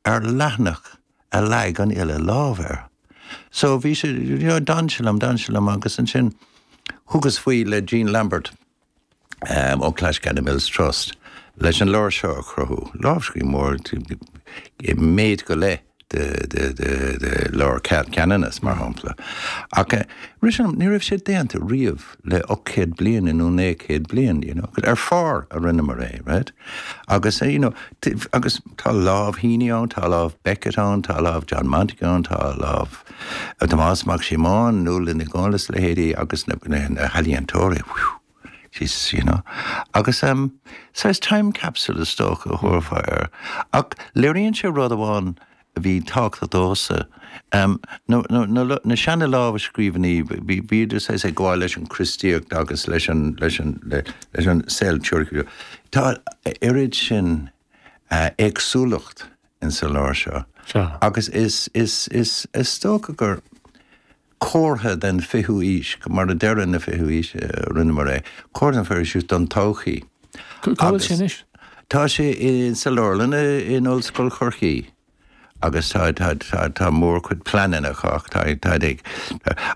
ar leathanach a leag an fhile lámh air. So bhí sé, you know, d'fhan sé liom, d'fhan sé liom agus ansin thugas faoi le Jean Lambert ó Clashganna Mills Trust leis an leabhar seo a chruthú. Lámhscríbhinn mór i méid go leith de de de de leabhar Ceanannas mar shampla. Ach rith sé liom, ní raibh sé déanta riamh le 800 bliain nó 900 bliain, you know, ar phár a rinneamar é, right? Agus, you know, agus tá lámh Heaney ann, tá lámh Beckett ann, tá lámh John Montague ann, tá lámh Tomás Mac Síomóin, Nuala Ní Dhomhnaill is leithéidí agus na na healaíontóirí, whew, Jesus, you know. Agus um, saghas time capsule is dócha a thabharfá air. Ach léiríonn sé rud amháin a bhí tábhachtach domhsa, um, na, na, na, na seana-lámhscríbhinní, bhí, bhíodar saghas ag gabháil leis an Chríostaíocht agus leis an, leis an, le, leis an saol teoiriciúil. Tá oiread sin uh, éagsúlacht in sa leabhar seo. Sea. Agus is, is, is, is dócha gur comhartha den 20ú aois, mar a deireadh na 20ú aois a rinneamar é, comhartha den 20ú aois don todhchaí. Cá bhfuil sé anois? Tá sé sa leabharlann in Ollscoil Chorcaí agus tá tá tá tá mórchuid pleananna acu ach tá tá ag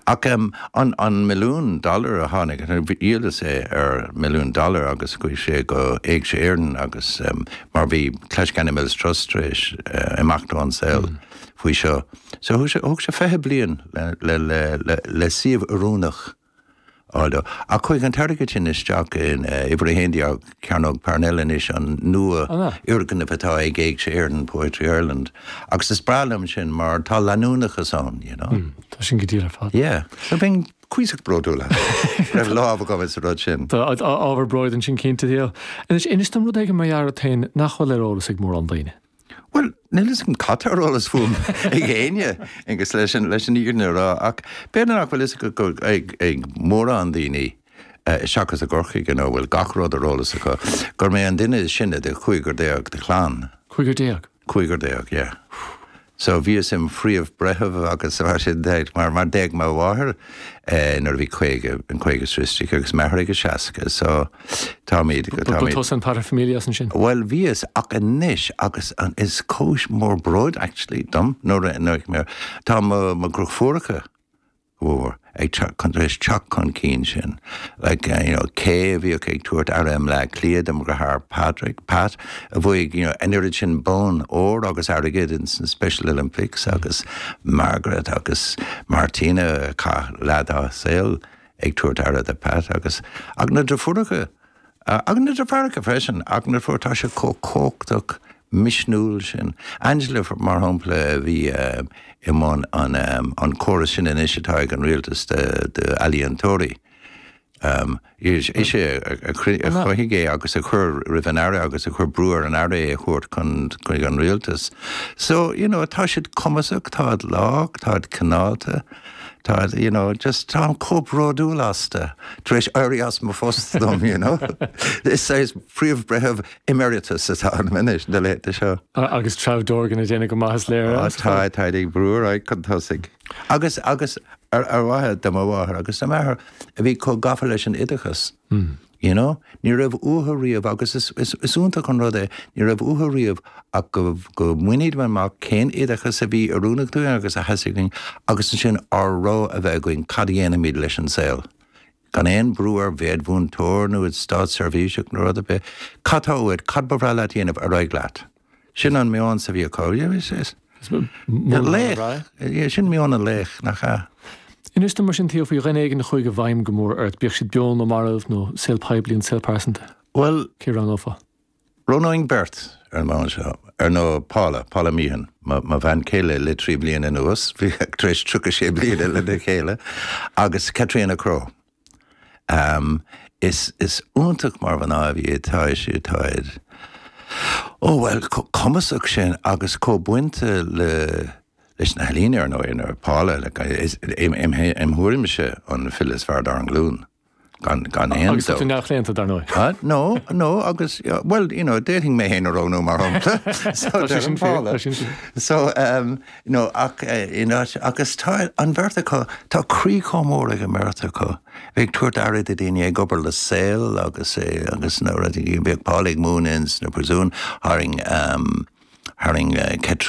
ach an an milliún dollar a tháinig dhíolas é ar milliún dollar agus chuaigh sé go Éigse Éireann agus mar bhí Clashganna Mills Trust tar éis imeacht ón saol faoi seo. So thug sé thug sé 20 bliain le le le le le suíomh oiriúnach a fháil dó. Ach chuaigh an t-airgead sin isteach in uimhir 11 Cearnóg Parnell anois, an nua fhoirgneamh atá ag Éigse Éireann, Poetry Ireland. Agus is breá liom sin mar tá leanúnachas ann, you know. Tá sin go diail ar fad. Yeah. So bheinn cuíosach bródúil as. Raibh lámh agam sa rud sin. Tá ábhar bróid ansin cinnte, Theo. Anois, inis dom rud éigin mar gheall ort féin nach bhfuil ar eolas ag mórán daoine. Bhuel, níl fhios agam cad tá ar eolas fúm ag éinne, agus leis an leis an fhírinne a rá, ach b'fhéidir nach bhfuil fhios ag ag mórán daoine, seachas i gCorcaigh, you know, bhfuil gach rud ar eolas acu, gur mé an duine is sine de chúigear déag de chlann. Cúigear déag? Cúigear déag, yeah. So bhíos im phríomh-bhreitheamh agus mar sin de, mar mar d'éag mo mháthair nuair a bhí 50, an 50 is istigh agus m'athair ag a 60, so táimid, Ba táimid. tusa an paterfamilias ansin? Bhuel bhíos, ach anois agus an, is cúis mór bróid actually dom nuair a, nuair, tá mo, mo dheirfiúracha, mhór ag teacht chun, tar éis teacht chun cinn sin. Like, you know, Kay a bhíodh ag tabhairt aire i mBleá Cliath do mo dheartháir Padraig, Pat, a bhuaigh, you know, an oiread sin bonn óir agus airgid ins na Special Olympics agus Margaret agus Martina a chaith leath dá saol ag tabhairt aire do Pat agus, ach na deirfiúracha, Agus na deartháireacha freisin, ach na deirfiúracha, tá siad chomh cumhachtach misniúil sin. Angela, mar shampla, a bhí i mbun an córas sin anois atá ag an rialtas d'ealaíontóirí. Is ise a chruthaigh é agus a chuir roimh an Aire agus a chuir brú ar an Aire é a thabhairt chun chuig an rialtas. So, you know, tá siad cumasach, táid lách, táid cineálta. Tá, you know, just táim chomh bródúil astu tar éis éirí as mo phost dom, you know. Is saghas príomh-bhreitheamh emeritus atá ionam anois na laethanta seo. Agus Treabh Dorgan ag déanamh go maith is léir. Á tá, táid ag brú ar aghaidh chun tosaigh. Agus, agus ar, ar mhaithe do mo mháthair agus do m'athair a bhí chomh gafa leis an oideachas. You know? Ní raibh uathu riamh, agus is, is, is iontach an rud é, ní raibh uathu riamh ach go, go mbainfimid amach cén oideachas a bhí oiriúnach dúinn agus a theastaigh uainn agus ansin ár rogha a bheith againn cad a dhéanfaimid leis an saol. Gan aon brú ar bheith id mhúinteoir nó id státseirbhíseach nó rud ar bith. Cad tá uait? Cad ba bhreá leat a dhéanamh? Ar aghaidh leat. Sin an meon a bhí acu. Laoch. Sin meon an laoich, nach ea? Inis dom mar sin, Theo, faoi dhuine éigin a chuaigh i bhfeidhm go mór ort, bíodh siad beo nó marbh, nó saol poiblí nó saol pearsanta. Bhuel, cé a roghnófá? Roghnóinn beirt ar an mbonn seo. Ar ndóigh, Paula, Paula Meehan, mo bhean chéile le 3 bliana anuas, bhí tar éis 36 bliana lena chéile, agus Caitríona Crowe. Is is iontach mar mhná a bhí tá sí táid ó bhuel chomh cumasach sin agus chomh bainte le leis na healaíona ar ndóigh nó Paula like is im im im thuairimse an file is fearr dár nglúin gan gan aon Agus tá tú neamhchlaonta dar ndóigh. Ah no no agus bhuel you know d'fhéadfainn mé féin a roghnú mar shampla so Tá sé sin fíor, Paula tá sin fíor. So um No, ach in áit, agus tá an bheirt acu, tá croí chomh mór ag an mbeirt acu, bheith ag tabhairt aire do dhaoine, ag obair le Saol agus agus na rudaí, bhíodh Paula ag múineadh ins na príosúin, tharraing, tharraing Caitríona.